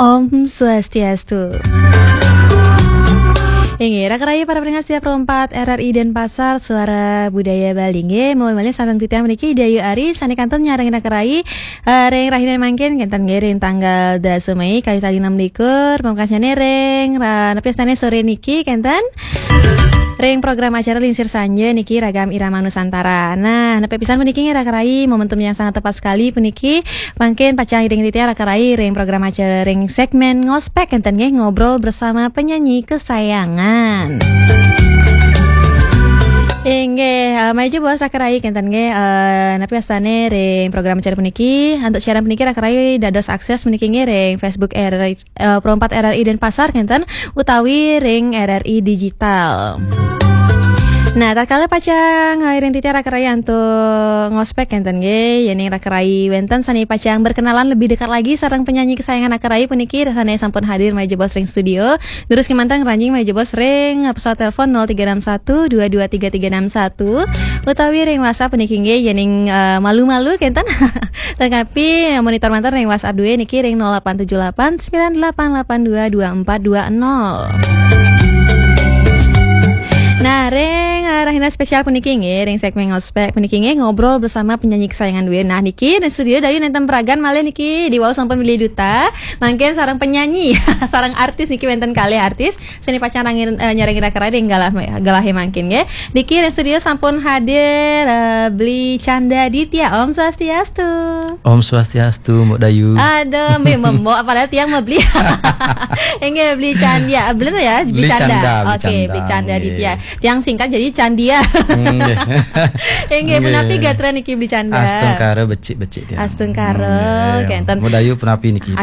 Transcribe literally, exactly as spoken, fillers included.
Om Swastiastu. Inggih, raka rayi para pendengar setia Pro empat R R I Denpasar, Suara Budaya Bali. Inggih, malih sareng titiang puniki Dayu Ari, sane kantun nyarengin raka rayi, eh, ring rahina mangkin, kenten nggih ring tanggal dasa Mei, kalih tali enam likur, pamekasnyane ring, ra-, napi astane sore niki, kenten ring program acara Lingsir Sanja niki Ragam Irama Nusantara. Nah, napi pisan puniki nggih raka rayi, momentum yang sangat tepat sekali puniki, mangkin pacang iring titiang raka rayi ring program acara ring segmen ngospek kenten nggih, ngobrol bersama penyanyi kesayangan. Inggih, eh, malih jebos raka rayi kenten nggih, eh, napi astane ring program acara puniki, antuk siaran puniki raka rayi dados akses puniki nggih ring Facebook R R I, eh, Pro empat R R I Denpasar kenten utawi ring R R I Digital. Nah, tatkala pacang, eh, iring titiang raka rayi antuk ngospek kenten nggih, yening raka rayi wenten sane pacang berkenalan lebih dekat lagi sareng penyanyi kesayangan raka rayi puniki, sane sampun hadir malih jebos ring studio. Durus kemanten ngranjing malih jebos ring, eh, pesawat telepon nol tiga enam satu dua dua tiga tiga enam satu utawi ring WhatsApp puniki nggih, yening, eh, malu-malu kenten. Tetapi monitor manten ring WhatsApp due niki ring nol delapan tujuh delapan sembilan delapan delapan dua dua empat dua nol. Nah, ring, eh, rahina spesial puniki nggih, ring segmen ngospek puniki nggih, ngobrol bersama penyanyi kesayangan due. Nah, niki ring studio Dayu nenten peragan malih niki, diwau sampun bilih duta. Mangkin sareng penyanyi, sareng artis niki wenten kalih artis. Sane pacang rangin, eh, nyarengin raka rayi ring galah, galahe mangkin nggih. Niki ring studio sampun hadir, eh, Bli Canda Ditya. Om Swastiastu. Om Swastiastu, Mbok Dayu. Aduh, mbe membok, padahal tiang mah Bli. Inggih, Bli Canda. Ah, bener ya, Bli Bli Canda. Canda, Bli Oke, Canda, Bli Canda nggih. Ditya. Tiang singkat jadi Candia. Nggih. Inggih, Nggih. Punapi gatra niki Bli Canda? Astungkara becik-becik tiang. Astungkara, Hmm, nggih. Kenten. Mbok Dayu punapi niki?